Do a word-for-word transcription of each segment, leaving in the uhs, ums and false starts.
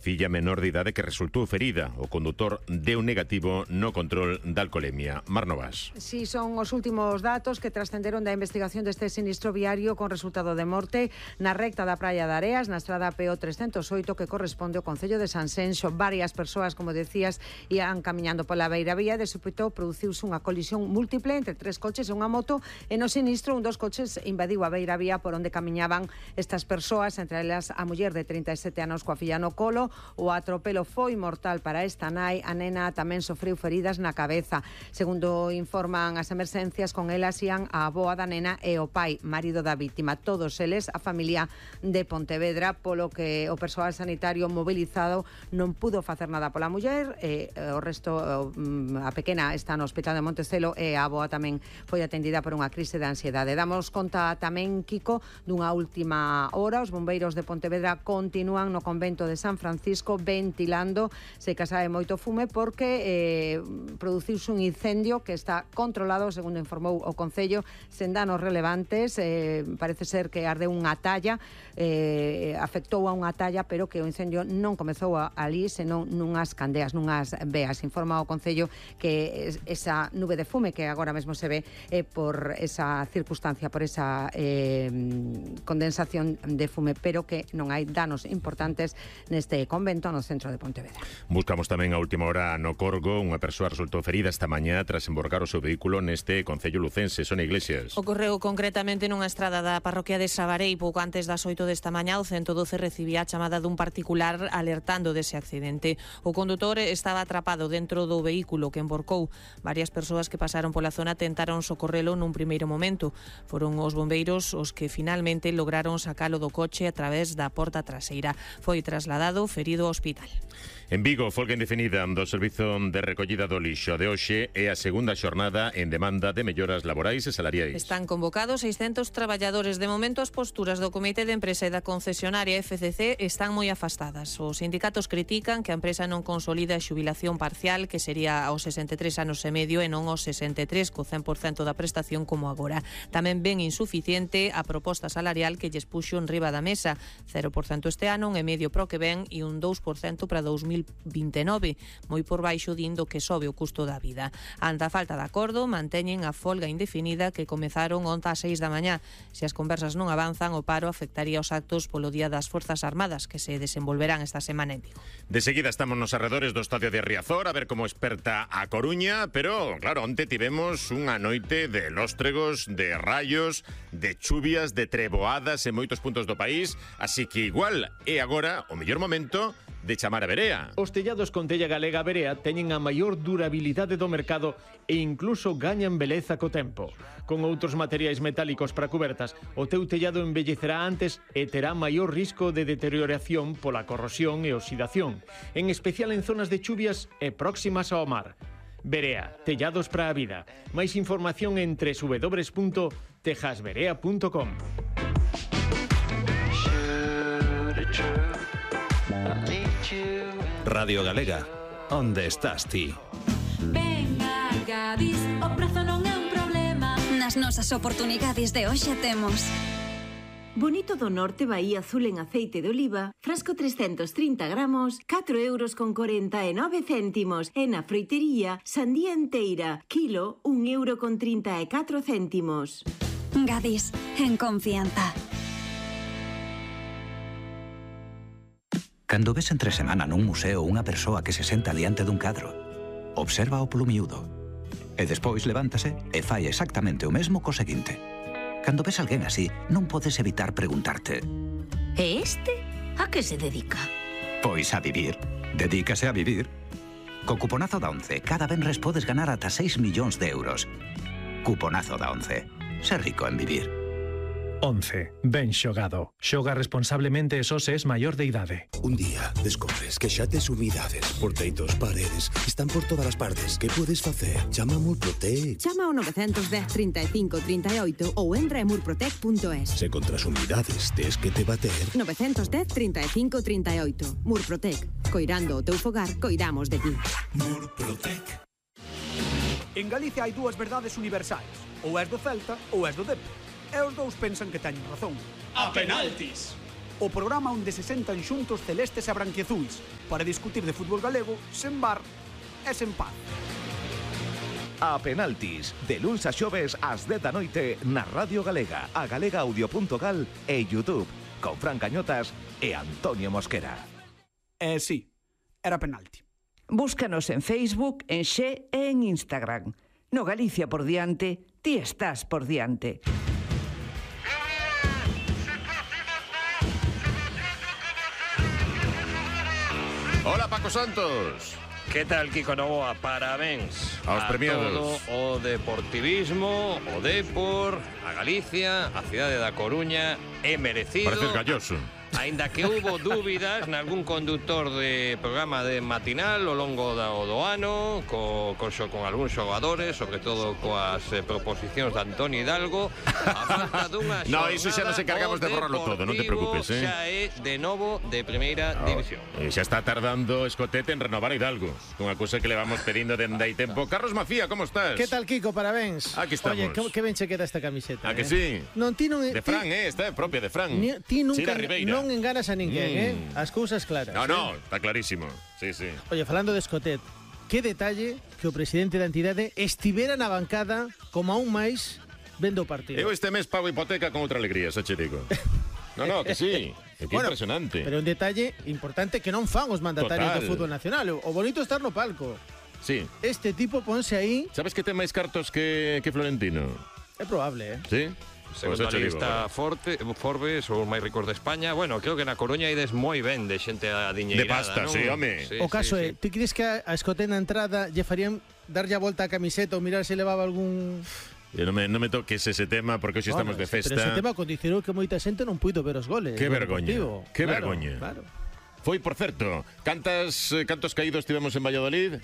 Filla menor de idade que resultou ferida. O condutor deu negativo no control da alcolemia. Mar Novas. Si, son os últimos datos que trascenderon da investigación deste sinistro viario con resultado de morte na recta da Praia de Areas, na estrada P O trescentos oito, que corresponde ao concello de Sanxenxo. Varias persoas, como decías, ian camiñando pola beiravía e de súpeto produciuse unha colisión múltiple entre tres coches e unha moto, e no sinistro un dos coches invadiu a beiravía por onde camiñaban estas persoas, entre elas a muller de trinta e sete anos coa filla no colo. O atropelo foi mortal para esta nai. A nena tamén sofreu feridas na cabeza. Segundo informan as emerxencias, con elas ían a avoa da nena e o pai, marido da vítima. Todos eles a familia de Pontevedra, polo que o persoal sanitario mobilizado non pudo facer nada pola muller. E o resto, a pequena está no hospital de Montecelo e a avoa tamén foi atendida por unha crise de ansiedade. Damos conta tamén, Kiko, dunha última hora. Os bombeiros de Pontevedra continúan no convento de San Francisco ventilando. Se que sae moito fume porque eh, produciuse un incendio que está controlado, segundo informou o Concello, sen danos relevantes. Eh, parece ser que ardeu unha talla, eh, afectou a unha talla, pero que o incendio non comezou a, ali, senón nunhas candeas, nunhas veas. Informa o Concello que esa nube de fume que agora mesmo se ve eh, por esa circunstancia, por esa eh, condensación de fume, pero que non hai danos importantes neste convento no centro de Pontevedra. Buscamos tamén a última hora no Corgo. Unha persoa resultou ferida esta mañá tras emborcar o seu vehículo neste concello lucense. Sonia Iglesias. Ocorreu concretamente nunha estrada da parroquia de Sabarei. Pouco antes das oito desta mañá, o ciento doce recibía a chamada dun particular alertando dese accidente. O condutor estaba atrapado dentro do vehículo que emborcou. Varias persoas que pasaron pola zona tentaron socorrelo nun primeiro momento. Foron os bombeiros os que finalmente lograron sacalo do coche a través da porta traseira. Foi trasladado ferido ao hospital. En Vigo, folga indefinida do servizo de recollida do lixo. De hoxe é a segunda xornada en demanda de melloras laborais e salariais. Están convocados seiscentos traballadores. De momento, as posturas do Comité de Empresa e da concesionaria F C C están moi afastadas. Os sindicatos critican que a empresa non consolida a xubilación parcial, que sería aos sesenta e tres anos e medio e non aos sesenta e tres, co cen por cento da prestación como agora. Tamén ven insuficiente a proposta salarial que lles puxo en riba da mesa, cero por cento este ano, un e medio pro que ven e un dous por cento para dous mil vinte e nove, moi por baixo dindo que sobe o custo da vida. Ante a falta de acordo, manteñen a folga indefinida que comezaron onte ás seis da mañá. Se as conversas non avanzan, o paro afectaría os actos polo Día das Forzas Armadas que se desenvolverán esta semana en Vigo. De seguida estamos nos arredores do estadio de Riazor a ver como esperta a Coruña, pero claro, onte tivemos unha noite de lóstregos, de rayos, de chuvias, de treboadas en moitos puntos do país, así que igual é agora o mellor momento de chamar a Verea. Os tellados con tella galega Verea teñen a maior durabilidade do mercado e incluso gañan beleza co tempo. Con outros materiais metálicos para cubertas, o teu tellado envellecerá antes e terá maior risco de deterioración pola corrosión e oxidación, en especial en zonas de chuvias e próximas ao mar. Verea, tellados para a vida. Máis información en doble u doble u doble u punto tejasverea punto com. Radio Galega, onde estás ti? Venga, Gadis, o prezo non é un problema. Nas nosas oportunidades de hoxe temos Bonito do Norte Bahía Azul en aceite de oliva, frasco trescentos trinta gramos, catro euros con corenta e nove céntimos. E na froitería, sandía enteira, kilo, un euro con trinta e catro céntimos. Gadis, en confianza. Cando ves entre semana nun museo unha persoa que se senta diante dun cadro, observa o polo miúdo e despois levántase e fai exactamente o mesmo co seguinte. Cando ves alguén así, non podes evitar preguntarte: E este a que se dedica? Pois a vivir. Dedícase a vivir. Co cuponazo da once, cada venres podes ganar ata seis millóns de euros. Cuponazo da once. Ser rico en vivir. once. Ben xogado. Xoga responsablemente e só se es maior de idade. Un día descobres que xa tes humidades por teitos, paredes, están por todas as partes. Que podes facer? Chama a Murprotec. Chama ao nove un cero, trinta e cinco, trinta e oito ou entra en murprotec punto es. Se contra as humidades tes que te bater... nove un cero, trinta e cinco, trinta e oito. Murprotec. Coirando o teu fogar, coidamos de ti. Murprotec. En Galicia hai dúas verdades universais. Ou és do Celta ou és do Depor. E os dous pensan que teñen razón. A penaltis! o programa onde se sentan xuntos celestes e branquiazuis para discutir de fútbol galego sen bar e sen paz. A penaltis, de luns a xoves ás dez da noite na Radio Galega, a galega audio punto gal e YouTube, con Fran Cañotas e Antonio Mosquera. Eh, sí, era penalti. Búscanos en Facebook, en Xe e en Instagram. No Galicia por diante, ti estás por diante. Hola, Paco Santos. Que tal, Kiko Novoa? Parabéns aos premiados. todo o deportivismo, o Depor, a Galicia, a cidade da Coruña, é merecido. Pareces galloso. Ainda que houbo dúbidas nalgún conductor de programa de matinal ao longo do, do ano, co, co, con algúns xogadores, sobre todo coas eh, proposicións de Antonio Hidalgo, a falta dunha xornada. No, iso xa nos encargamos de borrarlo todo, non te preocupes, eh. Xa é de novo de primeira oh, división. E xa está tardando Escotete en renovar a Hidalgo, unha cousa que le vamos pedindo dende hai tempo. Carlos Macía, como estás? Que tal, Kiko? Parabéns. Aquí estamos. Oye, que, que ben che queda esta camiseta. A eh? que sí? Non, ti non... De Fran, eh, esta é propia de Fran. Ni, ti nunca non non enganas a ninguén, mm. eh? As cousas claras. No, eh? no, está clarísimo. Sí, sí. Oye, falando de Escotet, que detalle que o presidente da entidade estivera na bancada como aún máis vendo o partido. Eu este mes pago hipoteca con outra alegría, xa che digo. No, no, que sí. É que bueno, impresionante. Pero un detalle importante que non fan os mandatarios Total. do fútbol nacional. O bonito é estar no palco. Sí. Este tipo ponse aí... Sabes que ten máis cartos que, que Florentino? É probable, eh? Sí? Segundo a lista Forte, Forbes, os máis ricos de España. Bueno, creo que na Coruña ides moi ben de xente adiñeirada. De pasta, ¿no? sí, home. Sí, o caso sí, é, sí. ti crees que a Escotet na entrada lle farían darlle a volta a camiseta ou mirar se levaba algún... E non me, non me toques ese tema porque hoxe bueno, estamos de festa. Pero ese tema condicionou que moita xente non puido ver os goles. Que vergoña, que claro, vergoña. Claro. Foi, por certo, cantas, cantos caídos tivemos en Valladolid?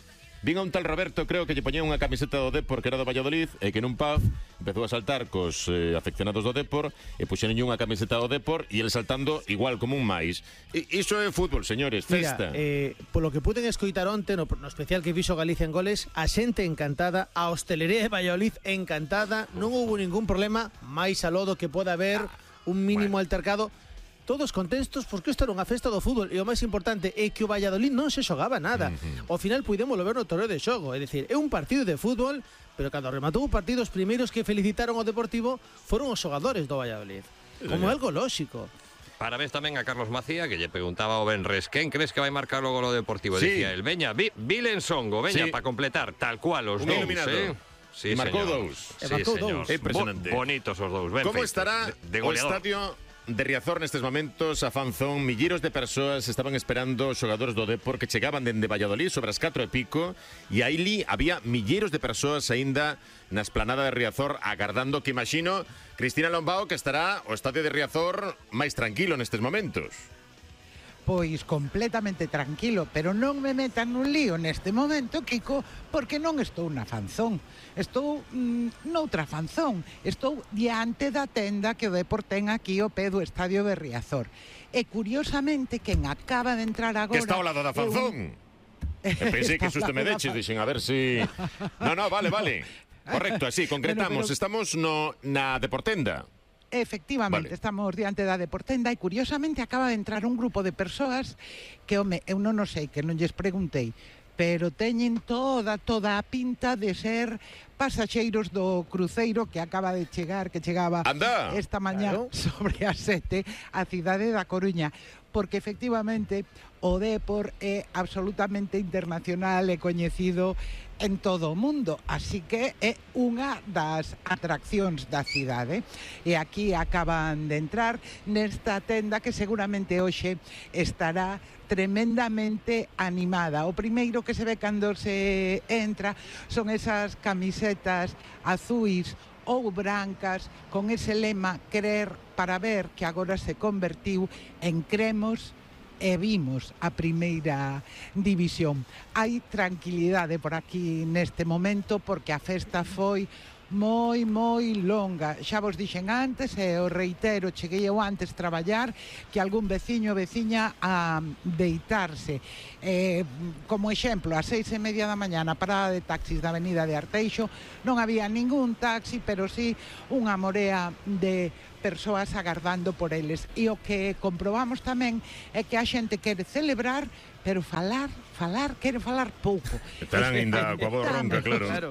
Vin a un tal Roberto, creo que lle poñía unha camiseta do Depor que era do Valladolid e que nun pub empezou a saltar cos eh, afeccionados do Depor e puxeron unha camiseta do Depor e ele saltando igual como un máis. E, iso é fútbol, señores, festa. Mira, eh, polo que puden escoitar onte no, no especial que fixo Galicia en goles, a xente encantada, a hostelería de Valladolid encantada, non houve ningún problema, máis a lodo que poda haber un mínimo bueno. altercado. Todos contentos porque isto era unha festa do fútbol e o máis importante é que o Valladolid non se xogaba nada. Uh-huh. Ao final puidémoslo ver no torneo de xogo, é dicir, é un partido de fútbol, pero cando rematou o partido os primeiros que felicitaron ao Deportivo foron os xogadores do Valladolid, como algo lóxico. Parabéns tamén a Carlos Macía, que lle preguntaba ao Benres quen crees que vai marcar o golo Deportivo. Sí. Dicía el, veña, vi, Vilensongo, veña, sí. para completar, tal cual os un dous, iluminado. eh? Sí, e marcou señor. dous. Sí, e marcou señor. dous. É impresionante. Bo, bonitos os dous, ben Como feitos, estará de, de o estadio de Riazor nestes momentos? A fanzón, milleiros de persoas estaban esperando os xogadores do Depor que chegaban dende Valladolid sobre as catro e pico e aí li había milleiros de persoas aínda na esplanada de Riazor agardando, que imagino, Cristina Lombao, que estará o estadio de Riazor máis tranquilo nestes momentos. Pois completamente tranquilo, pero non me metan nun lío neste momento, Kiko, porque non estou na fanzón. Estou mm, noutra fanzón. Estou diante da tenda que o Depor ten aquí ao pé do estadio de Riazor. E curiosamente, quen acaba de entrar agora... Que está ao lado da fanzón. Un... E pensei que susto me deches, dixen, a ver si... No, no, vale, vale. Correcto, así, concretamos. Bueno, pero... Estamos no, na Deportenda. Efectivamente, vale. Estamos diante da Deportenda e curiosamente acaba de entrar un grupo de persoas que, home, eu non o sei, que non lles preguntei, pero teñen toda, toda a pinta de ser pasaxeiros do cruceiro que acaba de chegar, que chegaba Anda. esta mañá claro. sobre as sete a cidade da Coruña, porque efectivamente o Depor é absolutamente internacional e coñecido en todo o mundo, así que é unha das atraccións da cidade. E aquí acaban de entrar nesta tenda que seguramente hoxe estará tremendamente animada. O primeiro que se ve cando se entra son esas camisetas azuis ou brancas con ese lema crer para ver, que agora se convertiu en cremos e vimos a primeira división. Hai tranquilidade por aquí neste momento porque a festa foi moi, moi longa. Xa vos dixen antes, e o reitero, cheguei eu antes traballar, que algún veciño ou veciña a deitarse. Eh, como exemplo, a seis e media da mañá na parada de taxis da avenida de Arteixo non había ningún taxi, pero sí unha morea de persoas agardando por eles. E o que comprobamos tamén é que a xente quere celebrar, pero falar, falar, quere falar pouco. Estarán ainda coa voz ronca, claro. claro.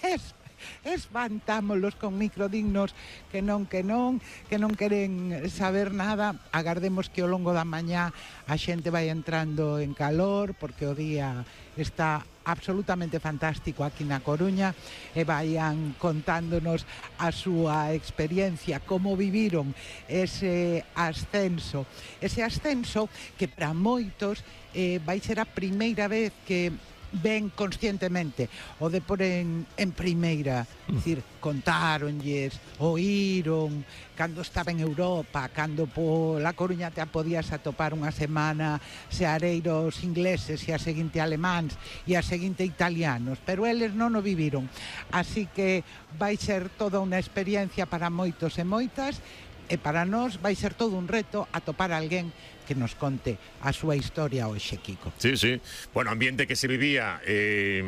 Es espantámolos con microdignos que non, que non, que non queren saber nada. Agardemos que ao longo da mañá a xente vai entrando en calor, porque o día está absolutamente fantástico aquí na Coruña, e vayan contándonos a súa experiencia, como viviron ese ascenso. Ese ascenso que para moitos eh, vai ser a primeira vez que ven conscientemente o Depor en, en primeira, é dicir, contáronlles, oíron cando estaba en Europa, cando pola Coruña te podías atopar unha semana seareiros ingleses e a seguinte alemáns e a seguinte italianos, pero eles non o viviron, así que vai ser toda unha experiencia para moitos e moitas, e para nós vai ser todo un reto atopar a alguén que nos conte a súa historia hoxe, Kiko. Sí, sí. Bueno, ambiente que se vivía eh,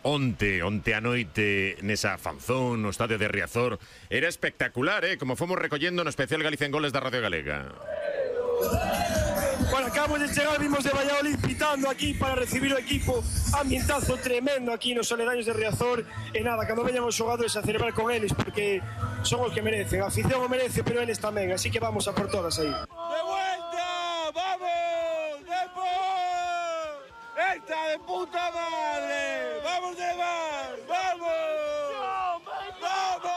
onte, onte a noite nesa fanzón no estadio de Riazor. Era espectacular, eh? Como fomos recollendo no especial Galicia en Goles da Radio Galega. Bueno, acabamos de chegar, vimos de Valladolid pitando aquí para recibir o equipo. Ambientazo tremendo aquí nos aledaños de Riazor. E nada, cando veñan os xogadores a celebrar con eles, porque son os que merecen. A afición o merece, pero eles tamén. Así que vamos a por todas aí. ¡De vuelta! ¡Vamos! ¡Depor! ¡Esta de puta madre! ¡Vamos de más! ¡Vamos! ¡Vamos!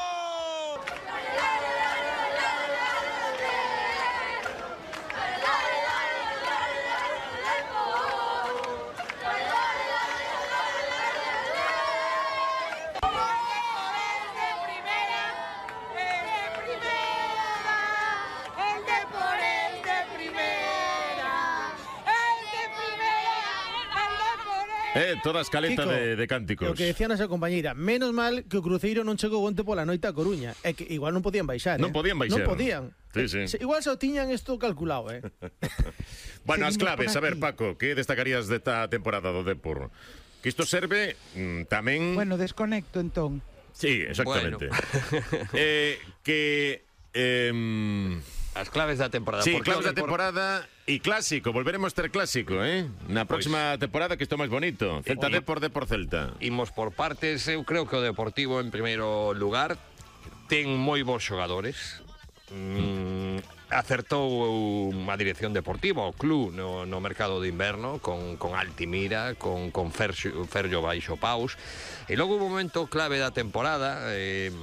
Eh, toda escaleta Kiko, de, de cánticos. O que decía nosa compañeira, menos mal que o Cruzeiro non chegou onte pola noite a Coruña. É que igual non podían baixar, Non eh? podían baixar. Non podían. Sí, sí. Se, igual só tiñan isto calculado, eh? Bueno, as Seguimos claves, por a ver, aquí. Paco, que destacarías desta temporada do Depor? Que isto serve mm, tamén... Bueno, desconecto entón. Sí, exactamente. Bueno. eh, que... Eh, As claves da temporada. Sí, Porque claves o da Depor- temporada e clásico. Volveremos ter clásico, eh? Na próxima temporada que isto máis bonito. Celta Oye. Depor, Depor Celta. Imos por partes. Eu creo que o Deportivo en primeiro lugar ten moi bons xogadores. Mm, acertou a dirección deportiva, o club no, no mercado de inverno con, con Altimira, con, con Ferxo, Ferxo Baixo Paus, e logo un momento clave da temporada, eh,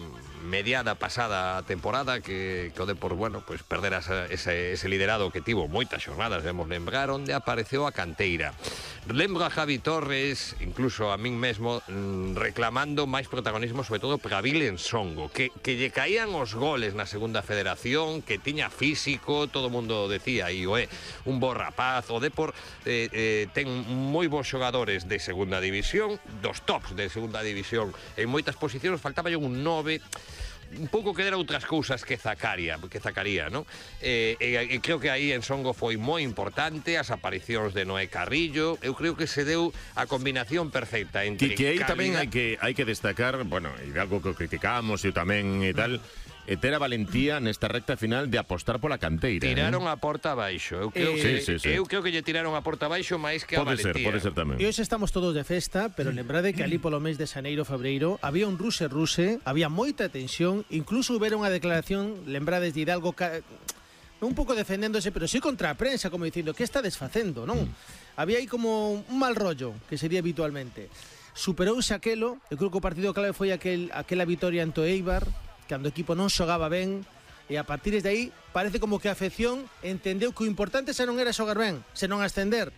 mediada pasada temporada, que, que o Depor, bueno, pues perdera esa, ese, ese liderado que tivo moitas xornadas, debemos lembrar, onde apareceu a canteira. Lembro a Javi Torres, incluso a min mesmo, mm, reclamando máis protagonismo, sobre todo para Vilen Songo, que, que lle caían os goles na segunda federación, que tiña físico, todo o mundo decía, e o é un bo rapaz. O Depor eh, eh, ten moi bons xogadores de segunda división, dos tops de segunda división, en moitas posicións faltaba un nove, un pouco que dera outras cousas que Zacaria, que Zacaría, non? E, e, e creo que aí en Songo foi moi importante as aparicións de Noé Carrillo. Eu creo que se deu a combinación perfecta entre Que, que aí tamén calidad- hai que hai que destacar, bueno, e de algo que criticamos e tamén e tal, e ter a valentía nesta recta final de apostar pola canteira. Tiraron eh? a porta abaixo. Eu creo, Eh, que, sí, sí, sí. eu creo que lle tiraron a porta abaixo máis que a Pode ser, valentía. pode ser tamén. E hoxe estamos todos de festa, pero lembrade que ali polo mes de xaneiro, febreiro, había un ruse-ruse, había moita tensión, incluso houbera unha declaración, lembrades de Hidalgo, ca... un pouco defendéndose, pero sí contra a prensa, como dicindo, que está desfacendo, non? Mm. Había aí como un mal rollo, que sería habitualmente. Superouse aquelo, eu creo que o partido clave foi aquel, aquela vitoria ante o Eibar, cando o equipo non xogaba ben, e a partir de aí parece como que a afección entendeu que o importante xa non era xogar ben, senón ascender.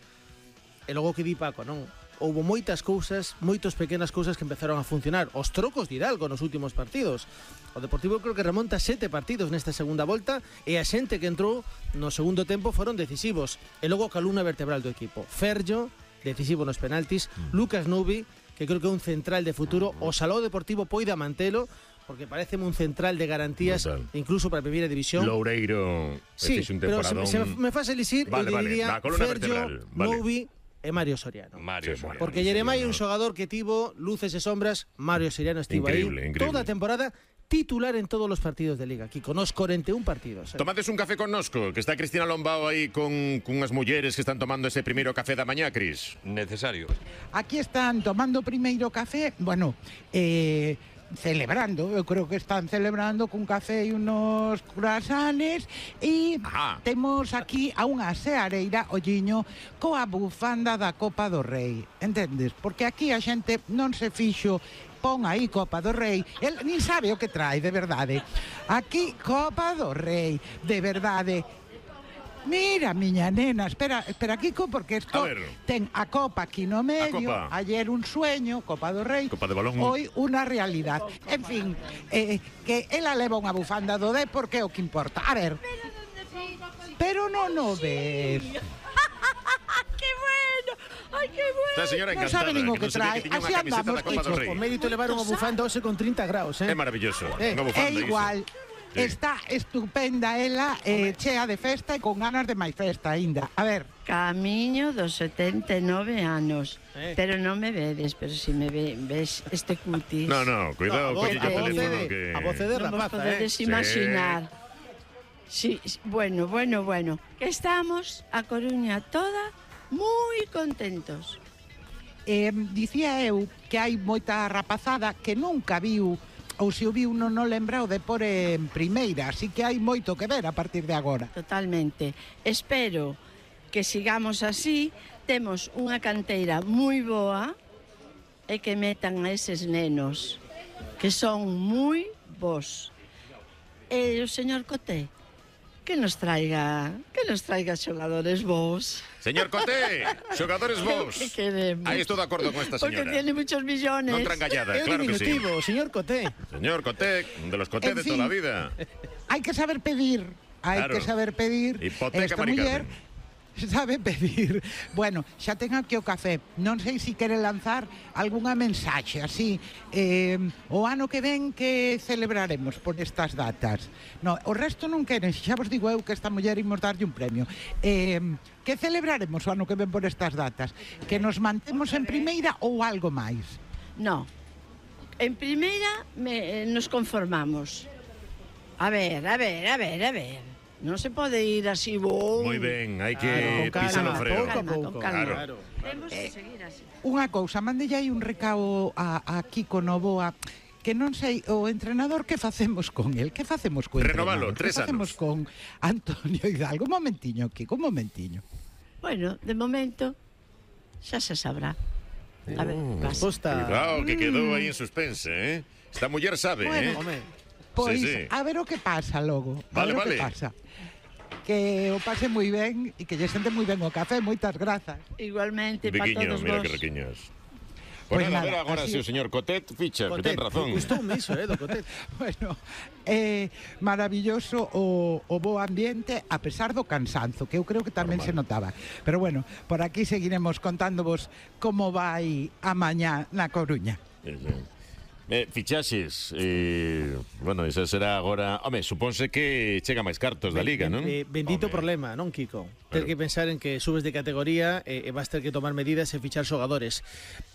E logo que di Paco, non? Houbo moitas cousas, moitas pequenas cousas que empezaron a funcionar. Os trocos de Hidalgo nos últimos partidos. O Deportivo creo que remonta sete partidos nesta segunda volta e a xente que entrou no segundo tempo foron decisivos. E logo a columna vertebral do equipo. Ferjo, decisivo nos penaltis, Lucas Nubi, que creo que é un central de futuro, o Salou Deportivo poida mantelo, porque parece un central de garantías, Total. incluso para a primeira división. Loureiro, sí, un pero se, se me faz elisir, vale, eu vale, diría Fergio, vale. Novi e Mario Soriano. Mario Soriano. Porque Jeremai é un xogador que tivo luces e sombras, Mario Soriano estivo increíble, aí increíble. toda a temporada, titular en todos os partidos de Liga, aquí con os cuarenta y un partidos. Eh. Tomades un café con nosco, que está Cristina Lombao aí con cunhas mulleres que están tomando ese primeiro café da mañá, Cris. Necesario. Aquí están tomando primeiro café, bueno, eh... celebrando, eu creo que están celebrando cun café e unos croissants e Ajá. temos aquí a unha seareira, olliño, coa bufanda da Copa do Rei, entendes? Porque aquí a xente non se fixo pon aí Copa do Rei, el nin sabe o que trae, de verdade. Aquí Copa do Rei, de verdade. Mira, miña nena, espera, espera, Kiko, porque esto ten a copa aquí no medio, ayer un sueño, Copa do Rei, Copa de balón. Hoy una realidad. En fin, eh, que ela leva unha bufanda do D porque é o que importa. A ver, pero non o ves. ¡Qué bueno! ¡Ay, qué bueno! Esta señora non encantada, sabe nin o que que non sabía trae. que tiña Así unha camiseta andamos, da Copa do Kiko. Rei. O mérito levar unha bufanda hoxe con trinta graus, eh? É maravilloso, Eh, unha bufanda é igual. iso. Está estupenda ela, eh, chea de festa e con ganas de máis festa aínda. A ver. Camiño dos setenta e nove anos. Eh. Pero non me vedes, pero si me ve, ves este cutis. No, no, cuidado, No, a que voz- o a voz teléfono de- que... a voz de Non vos rapaza, podedes eh? imaginar. Sí, sí, bueno, bueno, bueno. Que estamos a Coruña toda moi contentos. Eh, dicía eu que hai moita rapazada que nunca viu ou se o viu non o lembra o de por en primeira, así que hai moito que ver a partir de agora. Totalmente. Espero que sigamos así. Temos unha canteira moi boa e que metan a eses nenos que son moi bons. E o señor Coté, que nos traiga, que nos traiga xogadores bons. Señor Coté, xogadores vos. Que queremos. Aí estou de acordo con esta Porque señora. tiene muchos millones. Non trangallada, É un claro que sí. diminutivo, señor Coté. Señor Coté, de los Coté En de fin. toda la vida. Hai que saber pedir, hai Claro. que saber pedir. Hipoteca, Esta Mari muller Carmen. sabe pedir. Bueno, xa ten aquí o café. Non sei se quere lanzar algunha mensaxe así. Eh, o ano que ven que celebraremos por estas datas. No, o resto non queren. Xa vos digo eu que esta muller imos darlle un premio. Eh, que celebraremos o ano que ven por estas datas? Que nos mantemos en primeira ou algo máis? No. En primeira me, eh, nos conformamos. A ver, a ver, a ver, a ver. Non se pode ir así, bo. Moi ben, hai que Claro, con pisar o calma, freo. pouco a pouco. Con calma. Claro. Temos que seguir así. Unha cousa, mandelle aí un recao a, a Kiko Novoa, que non sei, o entrenador, que facemos con el? Que facemos co Renovalo, entrenador? tres Que facemos con Antonio Hidalgo? Un momentiño, Kiko, un momentiño. Bueno, de momento xa se sabrá. A ver, pasa. Resposta. Cuidado, que quedou aí en suspense, eh? Esta muller sabe, Bueno, eh? Home, Pois, Sí, sí. a ver o que pasa logo. A Vale, ver o vale. que pasa. Que o pase moi ben e que lle sente moi ben o café. Moitas grazas. Igualmente, para Biquiño, todos mira vos. que riquiños. Pois Pues nada, a ver nada, agora así se o é. señor Cotet ficha, que ten razón. Gustoume iso, eh, do Coté. Bueno, é maravilloso o, o bo ambiente a pesar do cansanzo, que eu creo que tamén Normal. se notaba. Pero bueno, por aquí seguiremos contándovos como vai a mañá na Coruña. Sí, sí. Eh, fichaxes, eh, bueno, esa será agora... Home, supónse que chega máis cartos da Liga, non? Eh, bendito Home. problema, non, Kiko? Ter Claro. que pensar en que subes de categoría e, e vas ter que tomar medidas e fichar xogadores.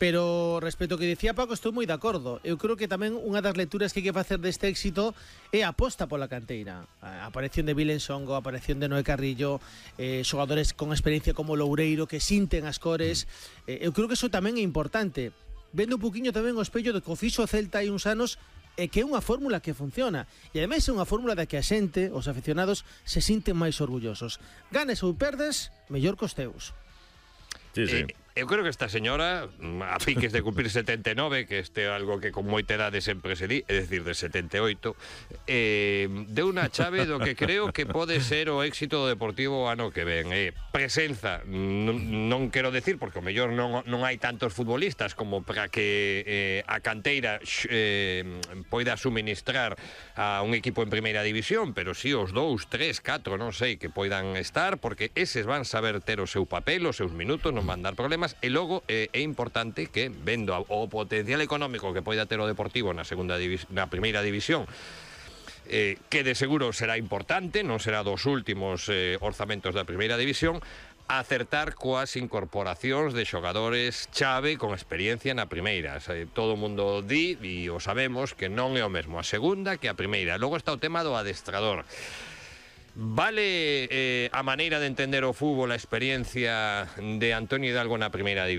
Pero respecto ao que dicía Paco, estou moi de acordo. Eu creo que tamén unha das lecturas que hai que facer deste éxito é a aposta pola canteira. A aparición de Vilen Songo, a aparición de Noé Carrillo, eh, xogadores con experiencia como Loureiro que sinten as cores. Eh, eu creo que iso tamén é importante. Vendo un poquinho tamén o espello de que o fixo o Celta hai uns anos e que é unha fórmula que funciona. E ademais é unha fórmula da que a xente, os aficionados, se sinten máis orgullosos. Ganes ou perdes, mellor cos teus. Sí, sí. Eh, eu creo que esta señora, a piques de cumplir setenta e nove, que este é algo que con moita edade sempre se di, é dicir, de setenta e oito, eh, deu unha chave do que creo que pode ser o éxito do Deportivo o ano que ven. Eh, presenza, non, non quero decir, porque o mellor non, non hai tantos futbolistas como para que eh, a canteira eh, poida suministrar a un equipo en primeira división, pero sí os dous, tres, catro, non sei, que poidan estar, porque eses van saber ter o seu papel, os seus minutos, non van dar problemas. temas, e logo eh, é importante que, vendo o potencial económico que poida ter o Deportivo na segunda na primeira división, eh, que de seguro será importante, non será dos últimos eh, orzamentos da primeira división, acertar coas incorporacións de xogadores chave con experiencia na primeira. Todo o mundo di, e o sabemos, que non é o mesmo a segunda que a primeira. Logo está o tema do adestrador. Vale eh, a maneira de entender o fútbol, a experiencia de Antonio Hidalgo na primeira división?